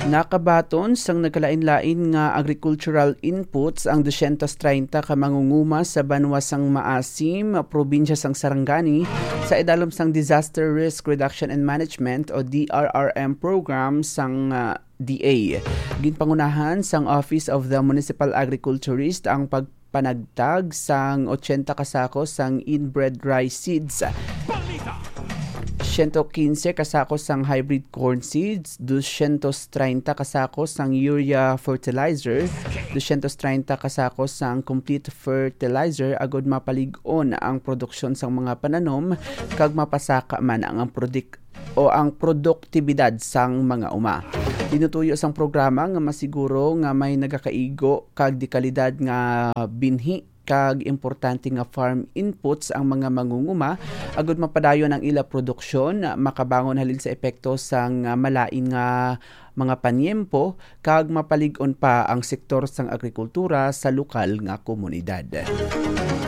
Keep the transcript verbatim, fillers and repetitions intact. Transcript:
Nakabaton sang nagkalain-lain nga agricultural inputs ang dosyentos treinta ka mangunguma sa banwa sang Maasim, probinsya sang Sarangani, sa idalom sang Disaster Risk Reduction and Management o D R R M program sang, ah, D A. Ginpangunahan sang Office of the Municipal Agriculturist ang pagpanagtag sang ochenta ka sako sang inbred rice seeds, siyento kinse ka sako sang hybrid corn seeds, dosyentos treinta ka sako sang urea fertilizer, dosyentos treinta ka sako sang complete fertilizer, agod mapalig-on ang produksyon sang mga pananom kag mapasaka man ang, ang prodik-, o ang produktibidad sang mga uma. Tinutuyo sang programa nga masiguro nga may nagakaigo kag dekalidad nga binhi kag importante nga farm inputs ang mga mangunguma, agud mapadayon ang ila produksyon, makabangon halin sa epekto sang, ah, malain nga mga panyempo, kag mapalig-on pa ang sektor sang agrikultura sa lokal nga komunidad.